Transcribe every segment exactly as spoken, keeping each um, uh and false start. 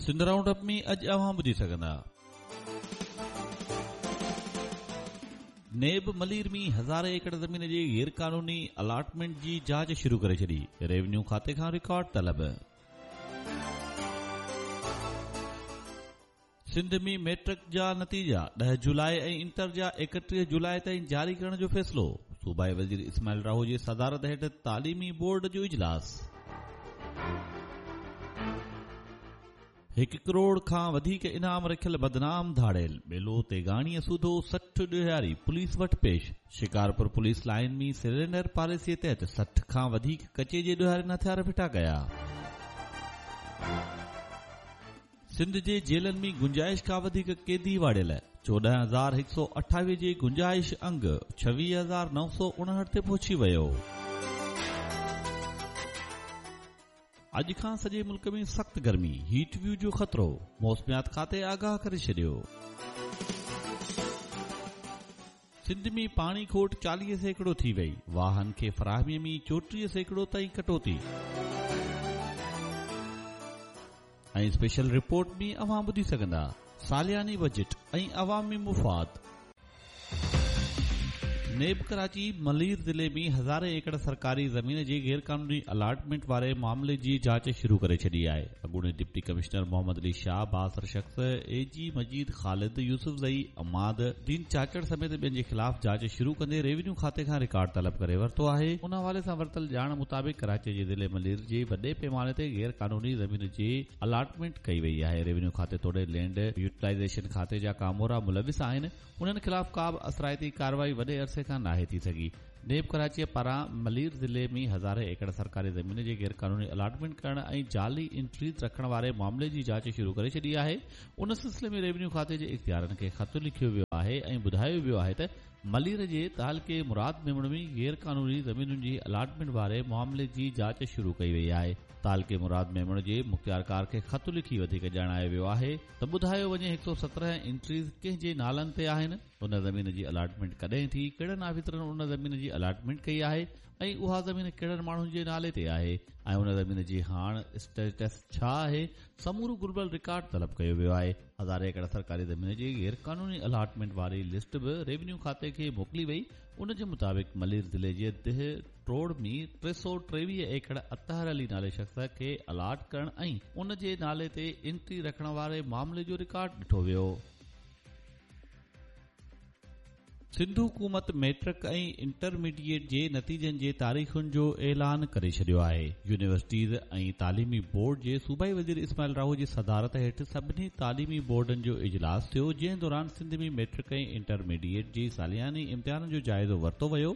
Sindh round up ۾ اڄ اوهان ٻڌي سگهندا. نيب ملير ۾ هزارين ايڪڙ زمين جي غير قانوني الاٽمينٽ جي جاچ شروع ڪري ڇڏي. ريونيو کاتي کان رڪارڊ طلب. سنڌ ۾ ميٽرڪ جا نتيجا ڏهه جولاءِ ۽ انٽر جا ايڪٽيهه جولاءِ تائين جاري ڪرڻ جو فيصلو. صوبائي وزير اسماعيل راهو جي صدارت هيٺ تعليمي بورڊ جو اجلاس. هڪ ڪروڙ کان وڌيڪ انعام رکيل بدنام ڌاڙيل ٻيلو تيغاڻيءَ سوڌو سٺ ڏوهاري پوليس وٽ پيش. شڪارپور پوليس لائن ۾ سرينڊر پاليسيءَ تحت سٺ کان وڌيڪ ڪچي جي ڏوهارين هٿيار ڦٽا ڪيا. سنڌ جي جيلن ۾ گنجائش کان وڌيڪ قيدي واڙيل چوڏهن هزار هڪ سؤ اٺاويهه جي گنجائش انگ ڇويهه هزار نو سؤ اڻهٺ تي پهچي ويو. اڄ کان سڄي ملڪ ۾ سخت گرمي، هيٽ ويو جو خطرو، موسميات کاتي آگاهه ڪري ڇڏيو. سنڌ ۾ پاڻي کوٽ چاليهه سيڪڙو ٿي وئي، واهن کي فراهميءَ ۾ چوٽيهه سيڪڙو تائين ڪٽوتي. ۽ اسپيشل رپورٽ ۾ اوهان ٻڌي سگهندا سالياني بجيٽ ۽ عوامي مفاد. نيب ڪراچي ملير ضلعي ۾ هزارين ايڪڙ سرڪاري زمين جي غير قانوني الاٽمينٽ واري معاملي جي جاچ شروع ڪري ڇڏي آهي. اڳوڻي ڊپٽي ڪمشنر محمد علي شاهه، بااثر شخص اي جي مجيد خالد يوسفزئي، عماد دين چاچڙ سميت ٻين جي خلاف جاچ شروع ڪندي ريونيو کاتي کان رڪارڊ طلب ڪري ورتو آهي. ان حوالي سان ورتل ڄاڻ مطابق ڪراچي جي ضلعي ملير جي وڏي پيماني تي غير قانوني زمين جي الاٽمينٽ ڪئي وئي آهي. ريونيو کاتي توڙي لينڊ يوٽيلائيزيشن کاتي جا ڪامورا ملوث آهن. انهن خلاف ڪا به اثرائتي ڪارروائي وڏي عرصي کان ناهي ٿي سگهي. نيب ڪراچيءَ پاران ملير ضلعي ۾ هزارين ايڪڙ سرڪاري زمين جي غير قانوني الاٽمينٽ ڪرڻ ۽ جعلي انٽريز رکڻ واري معاملي جي جاچ شروع ڪري ڇڏي آهي. ان سلسلي ۾ ريونيو کاتي جي اختيارن کي خط لکيو ويو آهي ۽ ٻڌايو ويو آهي ته ملير جي تعلقي مراد ميمڻ ۾ غير قانوني زمينن جي الاٽمينٽ واري معاملي جي جاچ شروع ڪئي وئي آهي. تعلقي مراد ميمڻ جي مختيارڪار کي خط لکي وڌيڪ ڄاڻايو ويو آهي ته ٻڌايو وڃي هڪ سؤ سترهن انٽريز ڪنهن جي نالن تي آهن، ان زمين جي الاٽمينٽ ڪڏهن ٿي، ڪهڙن آفيسرن ان زمين جي الاٽمينٽ ڪئي آهي ۽ اها زمين ڪهڙن ماڻهن جي نالي تي آهي ۽ ان زمين جي هاڻ اسٽيٽس ڇا آهي. سمورو گهربل رڪارڊ طلب ڪيو ويو آهي. هزارين ايڪڙ سرڪاري زمين جي غير قانوني الاٽمينٽ واري لسٽ به ريونيو کاتي کي موڪلي وئي. ان جي مطابق ملير ضلعي جي ديهه ٽوڙ ۾ ٽي سؤ ٽيويهه ايڪڙ اطهر علي نالي شخص کي الاٽ ڪرڻ ۽ ان جي نالي تي انٽري رکڻ واري معاملي جو رڪارڊ ڏٺو ويو. سنڌ حڪومت ميٽرڪ ۽ انٽرميڊيئيٽ جي نتيجن جي تاريخن جو اعلان ڪري ڇڏيو آهي. يونيورسٽيز ۽ تعليمي بورڊ جي صوبائي وزير اسماعيل راهو جي صدارت هيٺ سڀني تعليمي بورڊن جو اجلاس ٿيو، جنهن دوران سنڌ ۾ ميٽرڪ ۽ انٽرميڊيئيٽ جي سالياني امتحانن جو جائزو ورتو ويو.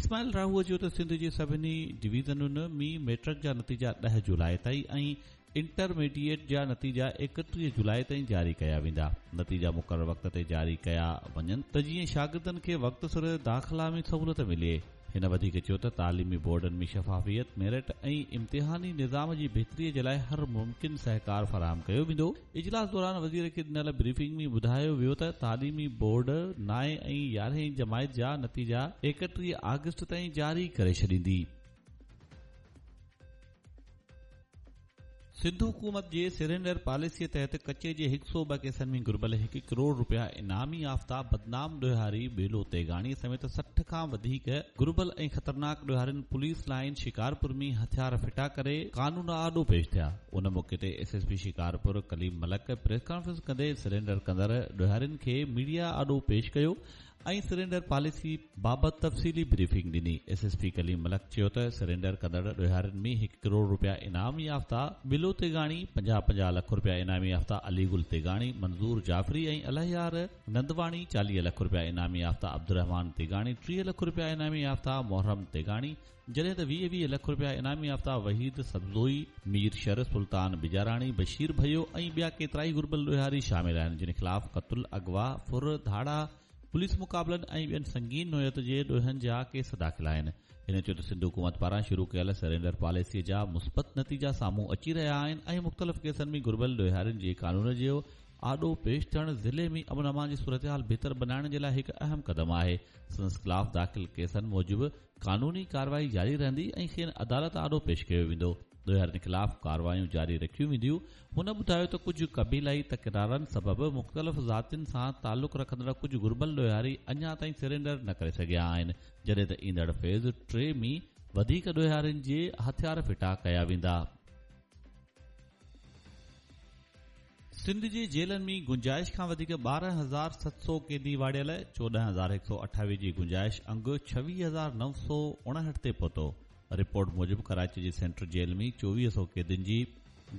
اسماعيل راهو چيو ته سنڌ جي سڀني ڊويزنن ۾ ميٽرڪ جا نتيجا ڏهه جولاءِ تائين ۽ انٽرميڊيئيٽ جا نتيجا ايڪٽيهه جولاءِ تائين جاري ڪيا ويندا. نتيجا مقرر وقت تي جاري ڪيا وڃن ته جيئن شاگردن کي وقت سر داخلا ۾ سهولت ملي. هن وڌيڪ چيو ته تعليمي بورڊن ۾ شفافيت، ميرٽ ۽ امتحاني نظام جي بهتريءَ جي لاءِ هر ممڪن سهڪار فراهم ڪيو ويندو. اجلاس دوران وزير کي ڏنل بريفنگ ۾ ٻڌايو ويو ته تعليمي بورڊ نائين ۽ يارهين جماعت جا نتيجا ايڪٽيهه آگسٽ تائين جاري ڪري ڇڏيندي. سنڌ حڪومت جي سرينڊر پاليسيءَ تحت ڪچي جي هڪ سؤ ٻه ڪيسن ۾ گهربل هڪ ڪروڙ رپيا انعامي يافته بدنام ڏوهاري ٻيلو تيغاڻي سميت سٺ کان وڌيڪ گهربل ۽ خطرناڪ ڏوهارين پوليس لائن شڪارپور ۾ هٿيار ڦٽا ڪري قانون آڏو پيش ٿيا. ان موقعي تي S S P Shikarpur Kaleem Malik press conference ڪندي سرينڊر ڪندڙ ڏوهارين کي ميڊيا آڏو پيش ڪيو ۽ سرينڊر پاليسي بابت تفصيلي بريفنگ ڏني. S S P Kaleem Malik چيو ته سرينڊر ڪندڙ ڏوهارين ۾ هڪ ڪروڙ رپيا انعام يافته بلو تيغاڻي، پنجاهه پنجاهه لک رپيا انعام يافته علي گل تيغاڻي، منظور جعفري ۽ الهيار نندواڻي، چاليهه لک رپيا انعام يافته عبدالرحمان تيغاڻي، ٽيهه لک رپيا انعام يافته محرم تيغاڻي، جڏهن ته ويهه ويهه لک رپيا انعام يافته وحيد سبزوئي، مير شر، سلطان بجاراڻي، بشير ڀيو ۽ ٻيا ڪيترائي گهربل ڏوهاري شامل آهن، جن خلاف قتل، اغوا، ڦر، ڌاڙا، پوليس مقابلن ۽ ٻين سنگين نوعيت جي ڏوهن جا ڪيس داخل آهن. هن چيو ته سنڌ حڪومت پاران شروع ڪيل سرينڊر پاليسيءَ جا مثبت نتيجا سامهون اچي رهيا آهن ۽ مختلف ڪيسن ۾ گهربل ڏوهارين جي قانون جو آڏو پيش ٿيڻ ضلعي ۾ امن امان جي صورتحال بهتر بڻائڻ جي لاءِ هڪ اهم قدم آهي. سندس خلاف داخل ڪيسن موجب قانوني ڪارروائي جاري رهندي ۽ کين عدالت آڏو پيش ڪيو ويندو. ڏوهارين خلاف ڪارروايون جاري رکيون وينديون. هن ٻڌايو ته ڪجهه قبيلائي تڪرارن سبب مختلف ذاتين سان تعلق رکندڙ ڪجهه گهربل ڏوهاري اڃا تائين سرينڊر نه ڪري سگهيا آهن، جڏهن ته ايندڙ فيز ٽي ۾ وڌيڪ ڏوهارين جي هٿيار ڦٽا ڪيا ويندا. سنڌ جي جيلن ۾ گنجائش کان وڌيڪ ٻارهن هزار ست سؤ قيدي واڙيل، چوڏهن هزار هڪ سؤ اٺاويهه جي گنجائش انگ ڇويهه هزار نو سؤ اڻهٺ تي پهتو. رپورٽ موجب ڪراچي جي سينٽرل جيل ۾ چوويهه سؤ قيدين جي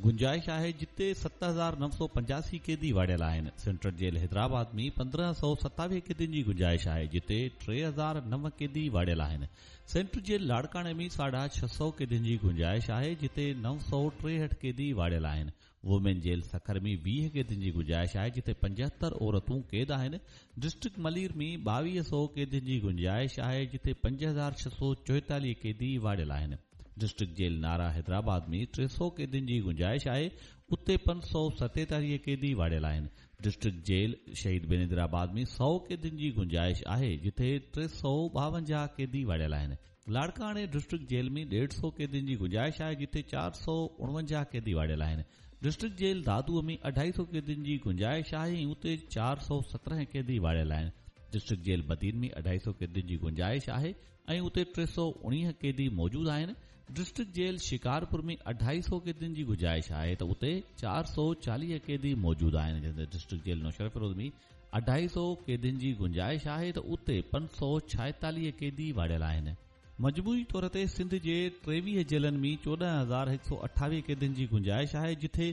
گنجائش آهي، جتي ست هزار نو سؤ پنجاسي قيدي واڙيل آهن. سينٽرل جيل حيدرآباد ۾ پندرهن سؤ ستاويهه قيدين جي گنجائش آهي، جتي ٽي هزار نو قيدي واڙيل آهن. سينٽرل جيل لاڙڪاڻي ۾ ساڍا ڇهه سؤ قيدين جي گنجائش آهي، جتي نو سؤ ٽيهٺ قيدي واڙيل آهن. وومين جيل سکر ۾ ويهه قيدين جي گنجائش آهي، جتي پنجهتر عورتون قيد آهن. ڊسٽرڪٽ ملير ۾ ٻاويهه سؤ قيدين جي گنجائش آهي، جتي پنج هزار ڇهه سؤ چوئيتاليهه قيدي واڙيل آهن. ڊسٽرڪٽ جيل نارا حيدرآباد ۾ ٽي سؤ قيدين جي گنجائش آهي، اتي پنج سؤ ستيتاليهه قيدي واڙيل آهن. ڊسٽرڪٽ جيل شهيد بينظيرآباد ۾ سؤ قيدين جي گنجائش آهي، جتي ٽي سؤ ٻاونجاهه قيدي واڙيل آهن. لاڙڪاڻي ڊسٽرڪٽ جيل ۾ ڏيڍ سؤ قيدين جي گنجائش آهي، جتي چار سؤ اڻونجاهه قيدي واڙيل آهن. ڊسٽرڪٽ جيل دادوءَ ۾ اڍائي سؤ قيدين جي گنجائش آهي ۽ اتي چار سؤ سترهن قيدي واڙيل آهن. ڊسٽرڪٽ جيل بدين ۾ اڍائي سؤ قيدين جي گنجائش آهي ۽ اتي ٽي سؤ اڻويهه قيدي موجود آهن. ڊسٽرڪٽ جيل شڪارپور ۾ اڍائي سؤ قيدين جي گنجائش آهي ته اتي چار سؤ چاليهه قيدي موجود آهن. جڏهن ته ڊسٽرڪٽ جيل نوشهروفيروز ۾ اڍائي سؤ قيدين جي گنجائش آهي ته اتي پنج سؤ ڇائيتاليهه قيدي واڙيل آهن. مجموعي طور تي سنڌ جي ٽيويهه جيلن ۾ چوڏهن هزار هڪ سؤ اٺاويهه قيدين جي گنجائش آهي، جتي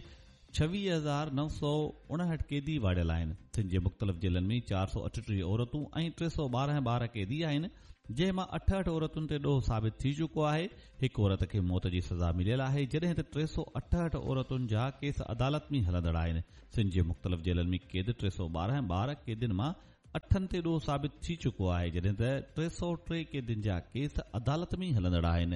ڇويهه هزار نو سؤ اڻهٺ قيدي واڙيل آهن. سنڌ جي مختلف جيلن ۾ چار سؤ اٺٽيهه عورتون ۽ ٽي سؤ ٻارهن ٻار قيدي آهن، جنهن مان اٺهٺ عورتن تي ڏوهه ثابت ٿي چڪو آهي. هڪ عورت کي موت جي سزا مليل آهي، جڏهن ته ٽي سؤ اٺهٺ عورتن جا ڪيس عدالت ۾ هلندڙ آهن. سنڌ جي مختلف جيلن ۾ قيد ٽي سؤ ٻارهن ٻار قيدين مان اٺن تي ڏوهه ثابت ٿي چڪو آهي، جڏهن ته ٽي سؤ ٽي قيدين جا ڪيس عدالت ۾ هلندڙ آهن.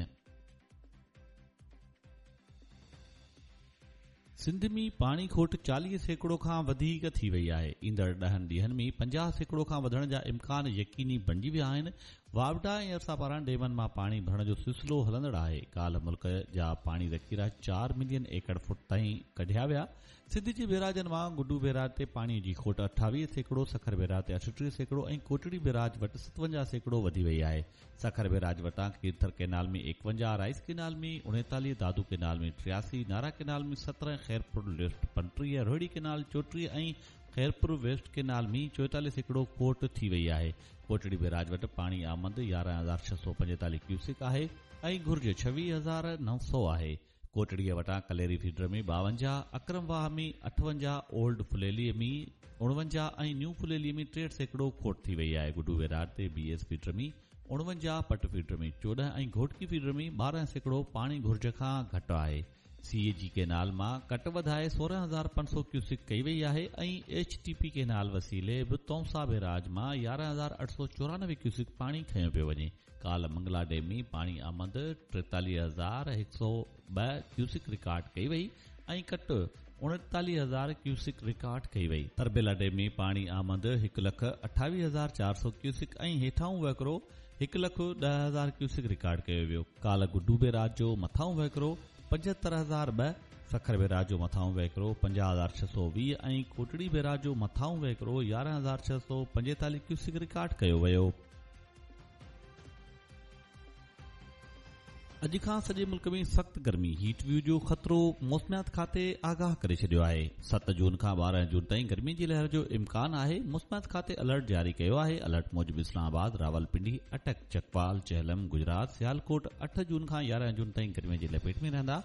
سنڌ ۾ پاڻي کوٽ چاليهه سيڪڙو کان وڌيڪ ٿي وئي آهي. ايندڙ ڏهن ڏينهن ۾ پنجاهه سيڪڙو کان وڌڻ جا امڪان يقيني بڻجي ويا آهن. واپڊا ۽ ارسا پاران ڊيمن مان پاڻي ڀرڻ جو سلسلو هلندڙ آهي. ڪالهه ملڪ جا پاڻي ذخيرا چار ملين ايڪڙ فوٽ تائين ڪڍيا ويا. سنڌ جي بيراجن مان گڊو بيراج تي پاڻي جي کوٽ اٺاويهه سيڪڙو، سکر بيراج تي اٺٽيهه سيڪڙو ۽ ڪوٽڙي بيراج وٽ ستونجاهه سيڪڙو وڌي وئي آهي. سکر بيراج وٽان کيرٿر ڪينال ۾ ايڪونجاهه، رائيس ڪينال ۾ اڻيتاليهه، دادو ڪينال ۾ ٽياسي، نارا ڪينال ۾ سترهن، خيرپور ليفٽ پنٽيهه، روهڙي ڪينال چوٽيهه ۽ خيرپور ويسٽ ڪينال ۾ چوئيتاليهه سيڪڙو کوٽ ٿي وئي آهي. ڪوٽڙي بيراج وٽ پاڻي آمد يارهن هزار ڇهه سؤ پنجيتاليهه ڪيوسڪ آهي ۽ گهرج ڇويهه هزار نو سؤ آهي. ڪوٽڙيءَ وٽان ڪليري فيڊر ۾ ٻاونجاهه، اڪرم واهه ۾ اٺونجاهه، اولڊ ڦليليءَ ۾ اڻونجاهه ۽ نيو ڦليليءَ ۾ ٽيهٺ سيڪڙو کوٽ ٿي وئي آهي. گڊو بيراج تي بي ايس فيڊر ۾ اڻونجاهه، پٽ فيڊر ۾ چوڏهن ۽ گهوٽڪي فيڊر ۾ ٻارهن سيڪڙو پاڻي گهرج کان گهٽ آهي. سي اي جي ڪينال مان ڪٽ وڌائي سورهن هزار پنج سؤ ڪيوسڪ ڪئي وئي آهي ۽ ايڇ ٽي پي ڪينال وسيلي به تونسا بيراج مان يارهن هزار اٺ سؤ چورانوي ڪيوسڪ پاڻي کنيو پيو وڃي. ڪالهه منگلا ڊيم ۾ پاڻي آمد ٽيتاليهه هزار هڪ سؤ ٻه ڪيوسڪ رڪارڊ ڪئي وئي ۽ ڪٽ اڻيتاليهه هزار ڪيوسڪ رڪارڊ ڪئي وئي. تربيلا ڊيم ۾ پاڻي آمد هڪ لک اٺاويهه هزار چار سؤ ڪيوسڪ ۽ هيٺائون وهڪرو هڪ لک ڏهه هزار ڪيوسڪ رڪارڊ ڪيو ويو. ڪالهه گڊو بيراج جو مٿائون وهڪرو پنجهتر هزار ٻه، سکر بيراج جو مٿائون وهڪرو پنجاهه هزار ڇهه سؤ ويهه ۽ ڪوٽڙي بيراج جو مٿائون وهڪرو يارهن هزار ڇهه سؤ پنجيتاليهه ڪيوسڪ رڪارڊ ڪيو ويو. اڄ کان سڄي ملڪ ۾ سخت گرمي هيٽ ويو جو خطرو موسميات کاتي آگاهه ڪري ڇڏيو آهي. ست جون کان ٻارهن جون تائين گرمي جي لهر جو امڪان آهي. موسميات کاتي الرٽ جاري ڪيو آهي. الرٽ موجب اسلام آباد، راولپنڊي، اٽڪ، چڪوال، چهلم، گجرات، سيالڪوٽ اٺ جون کان يارهن جون تائين گرمي جي لپيٽ ۾ رهندا.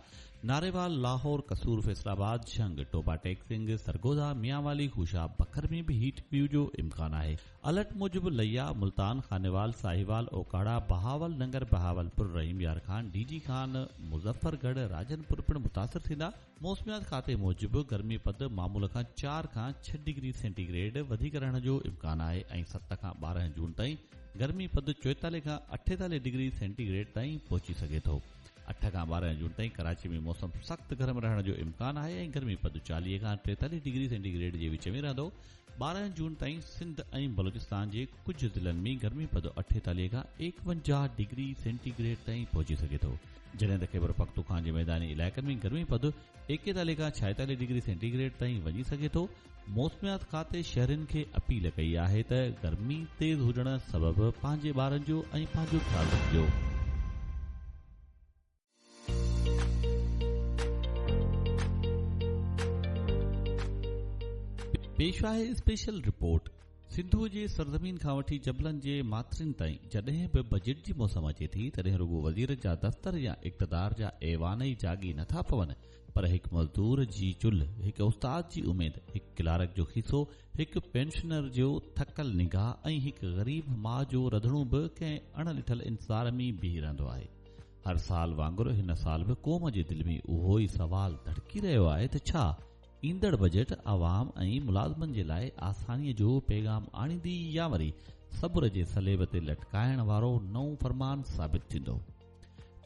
ناريوال، لاهور، قصور، فيصل آباد، جهنگ، ٽوبا ٽيڪ سنگهه، سرگوڌا، ميانوالي، خوشاب، بکر ۾ به هيٽ ويو جو امڪان آهي. الرٽ موجب ليا، ملتان، خانيوال، ساهيوال، اوڪاڙا، بهاول ننگر، بهاولپور، رحيم يار خان، ڊي جي خان، مظفرڳڙهه، راجنپور پڻ متاثر ٿيندا. موسميات کاتي موجب گرمي پد معمول کان چار کان ڇهه ڊگري سينٽيگريڊ وڌيڪ رهڻ جو امڪان آهي ۽ ست کان ٻارهن جون تائين گرمي پد چوئيتاليهه کان اٺيتاليهه ڊگري سينٽيگريڊ تائين پهچي سگهي ٿو. اٺ کان ٻارهن جون تائين ڪراچي ۾ موسم سخت گرم رهڻ جو امڪان آهي ۽ گرمي پد چاليهه کان ٽيتاليهه ڊگري سينٽيگريڊ جي وچ ۾ رهندو. ٻارهن جون تائين سنڌ ۽ بلوچستان جي ڪجهه ضلعن ۾ گرمي پد اٺيتاليهه کان ايڪونجاهه ڊگري سينٽيگريڊ تائين پهچي سگهي ٿو. جڏهن ته خيبر پختونخوا جي ميداني علائقن ۾ گرمي پد ايڪيتاليهه کان ڇائيتاليهه ڊگري سينٽيگريڊ تائين وڃي سگهي ٿو. موسميات کاتي شهرين کي اپيل ڪئي آهي ته گرمي تيز هجڻ سبب پنهنجي ٻارن جو ۽ پنهنجو خيال رکجو. پيش آهي اسپيشل رپورٽ. سنڌوءَ جي سرزمين کان وٺي جبلن جي ماٿرين تائين جڏهن به بجيٽ جي موسم اچي ٿي تڏهن رڳو وزير جا دفتر يا اقتدار جا ايوان ئي جاڳي نٿا پون، پر هڪ مزدور جي چلهه، هڪ استاد جي اميد، هڪ ڪلارڪ جو کيسو، هڪ پينشنر جو ٿڪل نگاهه ۽ هڪ غريب ماءُ جو رڌڻو به ڪنهن اڻ ڏٺل انتظار ۾ بيهي رهندو آهي. هر سال وانگر هن سال به قوم جي دل ۾ اهو ئي سوال ڌڙڪي رهيو آهي ته ڇا ايندڙ بجيٽ عوام ۽ ملازمن جي لاءِ آسانيءَ جو پيغام آڻيندي يا وري صبر جي سليب تي لٽڪائڻ وارو نئون فرمان ثابت ٿيندو.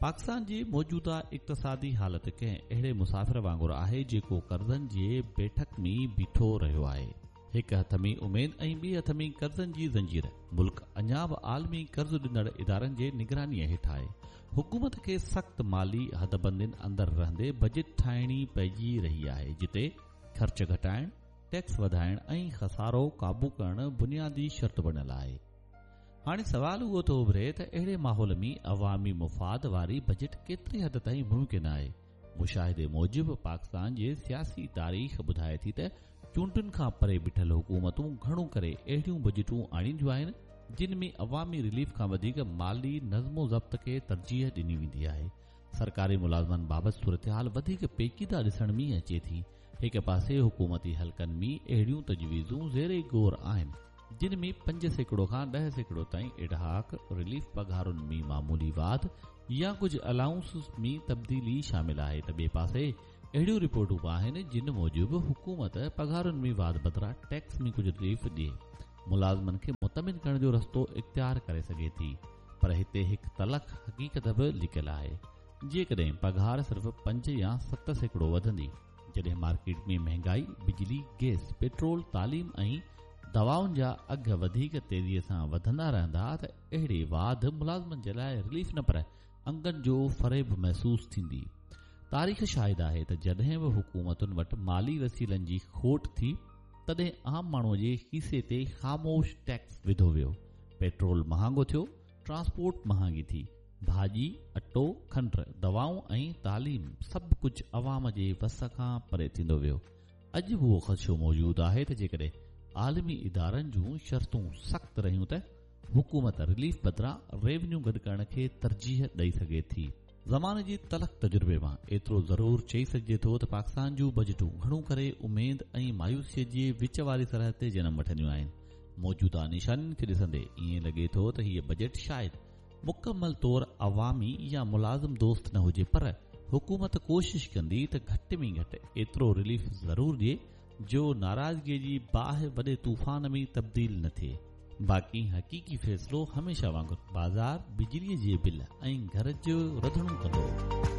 پاڪستان جي موجوده اقتصادي حالت ڪنهن اهڙي مسافر وانگر آهي جيڪو قرضن جي بيٺڪ ۾ بيٺو رهيو آهي. هڪ هٿ ۾ اميد ۽ ٻئي هٿ ۾ قرضن جي زنجير. ملڪ اڃا به عالمي قرض ڏيندڙ ادارن جي نگرانيءَ هيٺ آهي. حڪومت کي سخت مالي حدبندين اندر رهندي بجيٽ ٺاهڻي پئجي رهي آهي، جتي خرچ گهٽائڻ، ٽيڪس وڌائڻ ۽ خسارو قابو ڪرڻ بنيادي شرط بڻيل آهي. هاڻي سوال اهو ٿو اڀري ته اهڙي ماحول ۾ عوامي مفاد واري بجيٽ ڪيتري حد تائين ممڪن آهي؟ مشاهدي موجب پاڪستان جي سياسي تاريخ ٻڌائي ٿي ته چونڊن کان پري بيٺل حڪومتون گهڻو ڪري اهڙيون بجيٽون آڻينديون آهن جن ۾ عوامي رليف کان وڌيڪ مالي نظم و ضبط کي ترجيح ڏني ويندي آهي. سرڪاري ملازمن بابت صورتحال وڌيڪ پيچيده ڏسڻ ۾ اچي ٿي. هڪ پاسي حڪومتي حلقن ۾ اهڙيون تجويزون زير غور آهن جن ۾ پنج سيڪڙو کان ڏهه سيڪڙو تائين ايڊهاڪ رليف، پگهارن ۾ معمولي واڌ يا ڪجهه الائونس ۾ تبديلي شامل آهي ته ٻئي پاسي اهڙيون رپورٽون به آهن جن موجب حڪومت پگهارن ۾ واڌ بدران ٽيڪس ۾ ڪجهه رليف ڏئي ملازمن کي مطمئن ڪرڻ جو رستو اختيار ڪري سگهي ٿي. پر هتي هڪ تلخ حقيقت به لڪيل آهي. جيڪڏهن پگهار صرف پنج يا ست سيڪڙو وڌندي، جڏهن مارڪيٽ ۾ مهانگائي، بجلي، گئس، پيٽرول، تعليم ۽ دوائن جا اگهه وڌيڪ تيزيءَ سان وڌندا رهندا ته اهڙي واڌ ملازمن جي لاءِ رليف نه پر انگن جو فريب محسوس ٿيندي. تاريخ شاهد آهي ته جڏهن به حڪومتن وٽ مالي وسيلن جي کوٽ ٿي تڏهن عام ماڻهوءَ جي کيسي تي خاموش ٽيڪس وڌو ويو. پيٽرول مهانگو ٿيو، ٽرانسپورٽ مهانگي ٿي، ڀاڄي، اٽو، کنڊ، دوائون ۽ تعليم سڀ ڪجهه عوام جي وس کان پري ٿيندو ويو. اڄ به اهو خدشو موجود آهي ته جيڪڏهن عالمي ادارن جون شرطون سخت رهيون ته حڪومت رليف بدران ريونيو گڏ ڪرڻ کي ترجيح ڏئي سگهي ٿي. زماني جي تلخ تجربي مان ايترو ضرور چئي سگهجي ٿو ته پاڪستان جون بجيٽون گهڻو ڪري اميد ۽ مايوسيءَ جي وچ واري سرحد تي جنم وٺنديون آهن. موجوده نشانين کي ڏسندي ائين لڳي ٿو ته هيءَ بجيٽ شايد مڪمل طور عوامي يا ملازم دوست نه هجي، پر حڪومت ڪوشش ڪندي ته گهٽ ۾ گهٽ ايترو رليف ضرور ڏئي جو ناراضگيءَ جي باهه وڏي طوفان ۾ تبديل نه ٿئي. باقي حقيقي فيصلو هميشه وانگر بازار، بجليءَ جي بل ۽ گهر جو رڌڻو ڪندو.